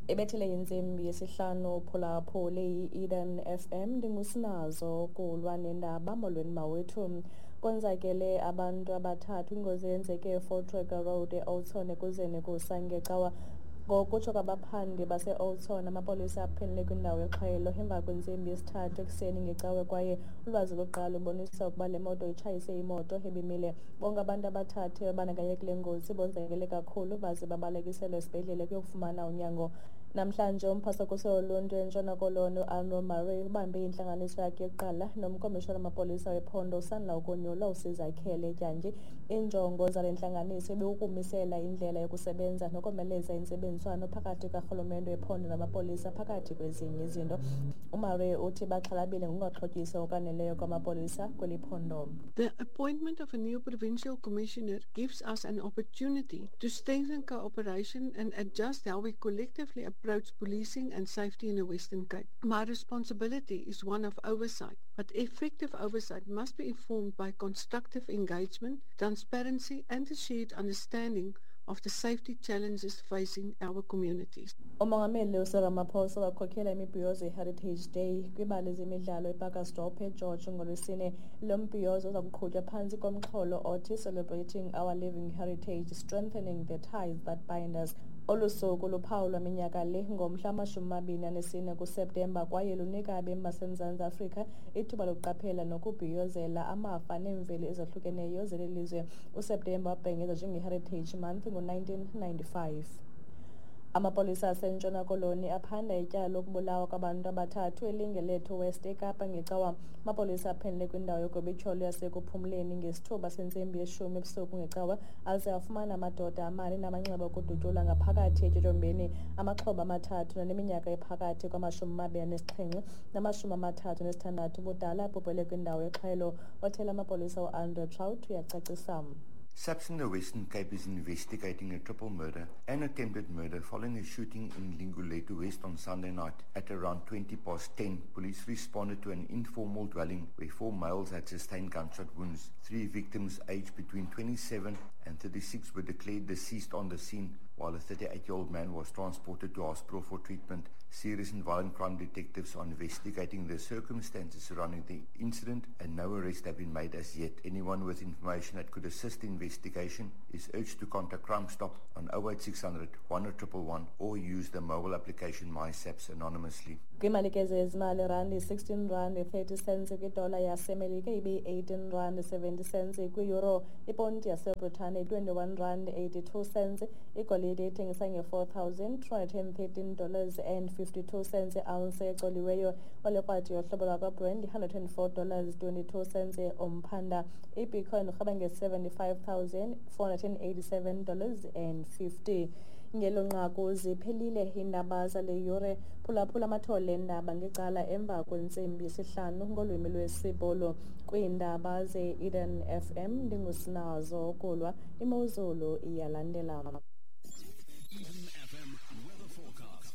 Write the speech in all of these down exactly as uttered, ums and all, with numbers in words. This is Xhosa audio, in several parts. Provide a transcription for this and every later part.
Ibethele intsimbi yesihlanu phulaphule i-Eden F M ndingusinazo kulwa nendaba. Molweni mawethu. Konzakele abantu abathathu ingozi eyenzeke eVoortrekker Road e-Oudtshoorn ekuzeni kusa ngecawa. Ngokutsho kwabaphandi base-Oudtshoorn, amapolisa aphenele kwindawo yexhwayelo emva kwentsimbi yesithathu ekuseni ngecawe kwaye ulwazi lokuqala lubonisa ukuba le moto itshayise imoto ebimile. Bonke abantu abathathu ababandakanyeke kule ngozi bonzakele kakhulu baze babalekiselwa esibhedlele kuyokufumana unyango. Namhlanje umphasakuso woluntu eNtshona Koloni uAnro Murray ubambe intlanganiso yakhe yokuqala nomkomishona wamapolisa wephondo usandla ukonyulwa uSizakhele Dyantyi. Iinjongo zale ntlanganiso ibikukumisela indlela yokusebenza nokomeleza intsebenziswano phakathi karhulumente wephondo namapolisa phakathi kwezinye izinto. UMurray uthi baxhalabile ngokungaxhotyiswa ngokwaneleyo kwamapolisa kweli phondo. The appointment of a new provincial commissioner gives us an opportunity to strengthen cooperation and adjust how we collectively approach policing and safety in the Western Cape. My responsibility is one of oversight, but effective oversight must be informed by constructive engagement, transparency and a shared understanding of the safety challenges facing our communities. Umongameli uCyril Ramaphosa wakhokhela imibhiyozo ye-Heritage Day kwibali zemidlalo eParkersdorp eGeorge ngoLwesine. Lo mbhiyozo uza kuqhutywa phantsi komxholo othi Celebrating Our Living Heritage, Strengthening the Ties That Bind Us. Olu suku luphawulwa minyaka le ngomhla wamashumi amabini anesine kuSeptemba kwaye lunika abemi baseMzantsi Afrika ithuba lokuqaphela nokubhiyozela amafa neemveli ezahlukeneyo zeli lizwe. USeptemba wabhengezwa njenge-Heritage Month ngo-nineteen ninety-five. Amapolisa aseNtshona Koloni aphanda ityala lokubulawa kwabantu abathathu eLingelethu West eKapa ngecawa. Amapolisa aphenele kwindawo yogobityholo yasekuphumleni ngesithuba sentsimbi yeshumi ebusuku ngecawa aze afumana amadoda amane namanxeba okudutyulwa ngaphakathi etyotyombeni. Amaxhoba amathathu naneminyaka ephakathi kwamashumi amabini anesixhenxe namashumi amathathu nesithandathu ubudala abhubhele kwindawo yexhwayelo. Othela amapolisa uAndre Trout uyacacisa. SAPS in the Western Cape is investigating a triple murder and attempted murder following a shooting in Lingulethu West on Sunday night. At around twenty past ten, police responded to an informal dwelling where four males had sustained gunshot wounds. Three victims aged between twenty-seven and thirty-six were declared deceased on the scene, while a thirty-eight-year-old man was transported to hospital for treatment. Serious and violent crime detectives are investigating the circumstances surrounding the incident and no arrests have been made as yet. Anyone with information that could assist the investigation is urged to contact Crime Stop on oh eight six hundred, one oh one one or use the mobile application MySAPS anonymously. Kwimali ke zezimali, randi sixteen rand thirty cents kwidola yaseMelika ibe eighteen rand seventy cents kwi-euro, iponti yaseBritane twenty-one rand eighty-two cents, igolide ithengisa nge-four thousand two hundred and thirteen dollars and fifty-two cents i-ounce ecoliweyo. Olekrwadi yohlobo lwakwaBrand one hundred and four dollars twenty-two cents umphanda. IBitcoin irhweba nge-seventy-five thousand four hundred and eighty-seven dollars and fifty. Ngelo nqaku ziphelile iindaba zale yure. Phulaphula amathole eendaba ngecala emva kwentsimbi yesihlanu ngolwimi lwesiBhulu. Kwiindaba ze-Eden F M ndingusinazo Kulwa. Imozulu iyalandela. Eden F M weather forecast.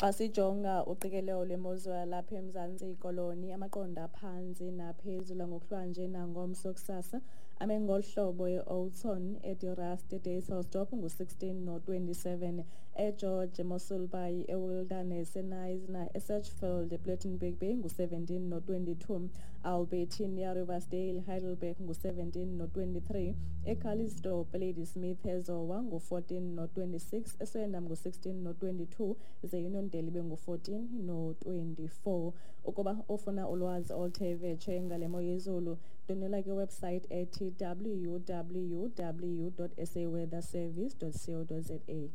Xa sijonga uqikelelo lwemozulu yalapha eMzantsi Koloni, amaqondo aphantsi naphezulu ngokuhlwanje nangomso kusasa ame ngolu hlobo: e-Oudtshoorn, eDe-Rust, eDysselsdorp ngu-sixteen no-twenty-seven, eGeorge, eMossel Bay, eWilderness, eKnysna, eSedgefield, ePlettenberg Bay ngu-seventeen no-twenty-two, Albertinia, Riversdale, Heidelberg ngu-seventeen no-twenty-three, eCalitzdorp, Ladysmith, eZowa ngu-fourteen no-twenty-six, eSwellendam ngu-sixteen no-twenty-two, ze-Uniondale ibe ngu-fourteen no-twenty-four. Ukuba ufuna ulwazi oluthe vetshe ngale mo yezulu, ndwendwela kwiwebsite ethi w w w dot s a weather service dot co dot z a.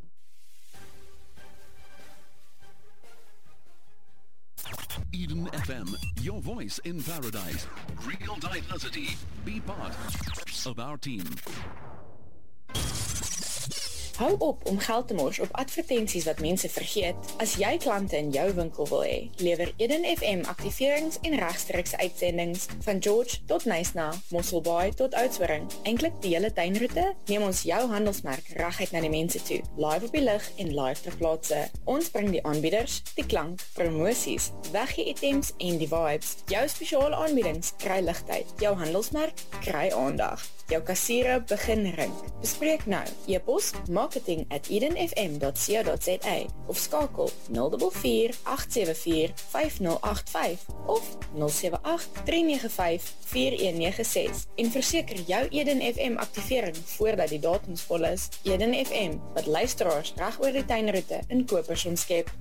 Eden F M, your voice in paradise. Real diversity. Be part of our team. Hou op om geld te mors op advertensies wat mense vergeet. As jy klante in jou winkel wil hê, lewer Eden F M aktiverings en regstreekse uitsendings van George tot Knysna, Mosselbaai tot Oudtshoorn. Eintlik die hele tuinroete, neem ons jou handelsmerk reguit na die mense toe, live op die lug en live ter plaatse. Ons bring die aanbieders, die klank, promosies, weggee-items en die vibes. Jou spesiale aanbiedings kry ligtyd, jou handelsmerk kry aandag. Jou kassiere begin rink. Bespreek nou. E-pos marketing at eden f m dot co dot za of skakel nul vier vier, agt sewe vier, vyf nul agt vyf of nul sewe agt, drie nege vyf, vier een nege ses en verseker jou Eden F M aktivering voordat die datums vol is. Eden F M, wat luisteraars reg oor die tuinroete in kopers omskep.